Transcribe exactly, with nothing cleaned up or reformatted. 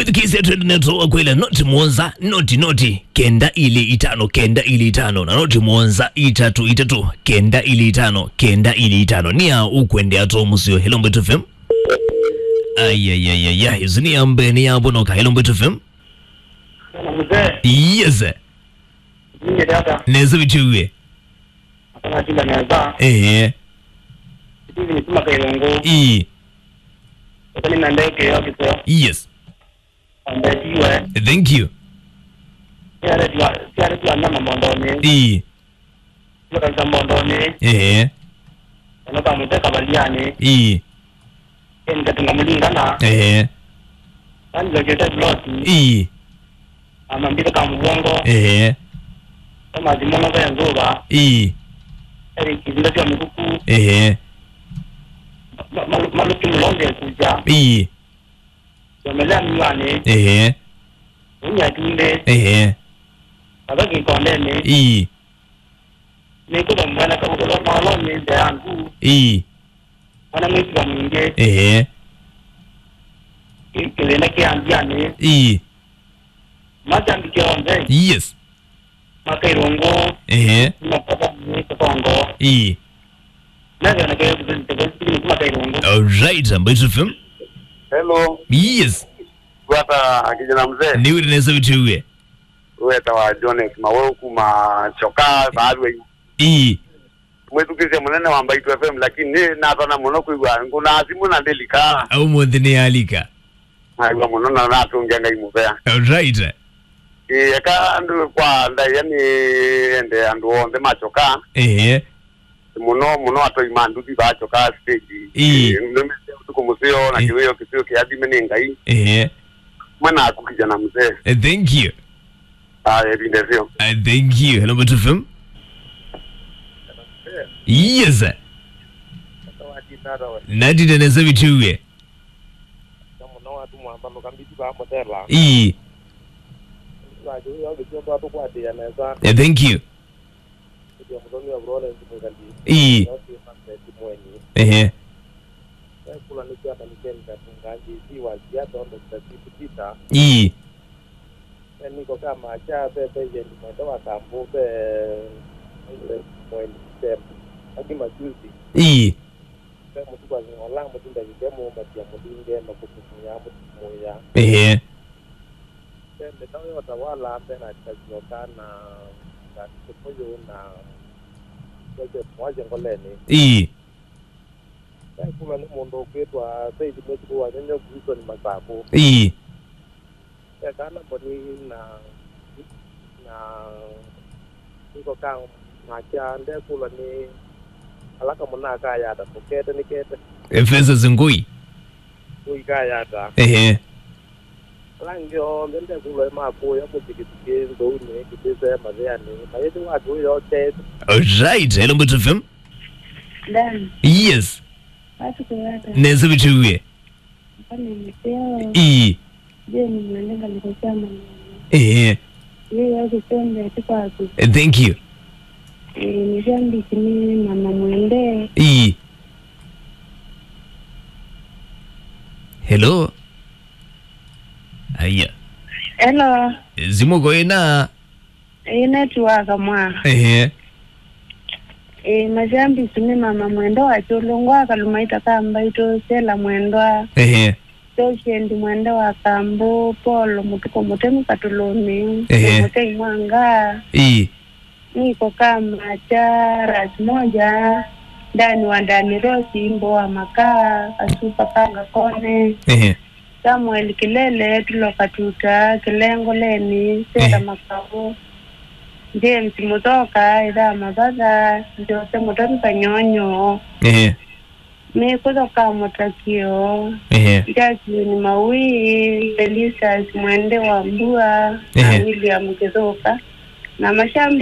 Twĩthukĩĩsya twende neto wakwĩla noti mũonza, noti, noti, kenda ilĩ itano, kenda ilĩ itano, na noti mũonza, itatu, itatu, kenda ilĩ itano, kenda ilĩ itano. Nĩa ũkwendea to mũseo. Hello, Mbaitu F M. Ai, ai, ai, ai, ai. Isu nĩ ya mbee, nĩ ya bonoka. Hello, Mbaitu F M. Mzee. Yes. Ninye dada. Nesa vitiwie. Akana tinda nesa. Ehe. Steven Sima Kailongo. Ii. Akani na ndeke ya kiswa. Yes. Ambetiwe. Thank you. Siare tua, siare tua nyama mondoni. Ii. Tua kabisa mondoni. Ehe. Ono kamuteka baliani. Ii. Eni katunga mulingana. Ehe. Ani lokete bloti. Ii. Ama mbite kamuvongo. Ehe. Ama zimono kwa nzuba. Ii. Eri kizinda tia mikuku. Ehe. Ma-, ma-, maluki mulonge kuja. Ii. Yomelea mnywani. Ehe. Unya tunde. Ehe. Kaba kikondeni. Ii. Nikuta mwana kabulo malo ni nze yangu. Ii. Mwana mwisi wa mwingi. Ehe. Ki-, kithina kia mbiani. Ii. Masambiki onthe. Yes. Makairungu. Ehe. Makata ni katongo. Ii. Navyo na kaya kuzini tebesi ni makairungu. All right, Mbaitu F M. Hello. Yes. Gwata kijana mzee. Nĩ wĩra nesa vitiwie. Weta wa Jones Maweu kuma Choka, Barwei. Ii. Mwĩthukĩĩsya mũnene wa Mbaitu F M, lakini nĩ natana mũno kwĩw'a ngũna simũ na ndĩlika. Au mũnthĩ nĩ yalika. Naĩw'a mũno na natũngĩa Ngai mũvea. All right. Ĩ, eka andũ kwa ndaĩa nĩ ende andũ onthe ma Choka. Ehe. Mũno mũno atoi ma nduthi ba Choka stage. Ĩĩ. Ĩ, nĩmesya ũtukũ mũseo na Ĩĩ. Kĩwĩo kĩseo kĩathime nĩ Ngai. Ehe. Mwe naku kijana mzee. Eh, thank you. Ah, ĩvinda ĩseo. Eh, thank you. Hello, Mbaitu F M. Yes, sir. Natinde nesa vitiwie. Ii. Eh, thank you. Ii. Ehe. Ii. Niko kama cha pe pe yendi mwende wa kambu pe mwende pe aki majuzi. Ii. Pe mutu kwa ngola mutu ndagike mu matia mulinge na kutumia mutumia. Ehe. Pe meta yo tawala pe na chazio kana na kupoyo na kwa kwa ngoleni. Ii. Ekulwa nĩ mũndũ ũkwĩtwa Faith Mwĩkitũ wa Nyonyo Wilson Masaku. Ii. Ekana mboni na, na niko ka makya ndekulwa nĩ ala kamũna kayata tũkete nĩkete. Efeso Zingui. Ngui kayata. Ehe. Ala angĩ onthe ndekulwa makũya mũtikitiki nthũunĩ kĩtĩsee mathĩanĩ mayĩthĩwa atũĩ yokete. Alright, hello Mbaitu F M. Dan. Yes. Watu kuwata. Neza vitiwie. Mbona mseo? Ii. Je, ni mwendenga nikosia mwenye. Eh. Yeye yake sende ati kwaku. Eh, thank you. Eh, ni jambi kini mama mwende. Ii. Hello. Aya. Hello. Zimu koina. Ĩĩ, netiwaka mwa. Ehe. Ĩĩ, masyambisi nĩ mama mwendwa wa kyũlũngwa akalumaita ka Mbaitu, Sela mwendwa. Ehe. Patient mwendwa wa kambu, Paul mũtuko mũtemi katulũni. Ehe. Mũtei mwanga. Ii. Niko kama cha Rasmoja, Dani wa Dani Rosi, Mbo wa Makaa, Kasupa Kanga Kone. Ehe. Samuel Kilele, Tulo Katuta, Kilengoleni, Sera Ehe. Makau, James Muthoka, Ithaa Mavatha, Jose Mutoni Kanyonyo, Ehe. Mikuthoka Mutakio, Ehe. Jacqueline Maui, Felicitas Mwende wa Mbua, na Ehe. William Kithuka, na mashambi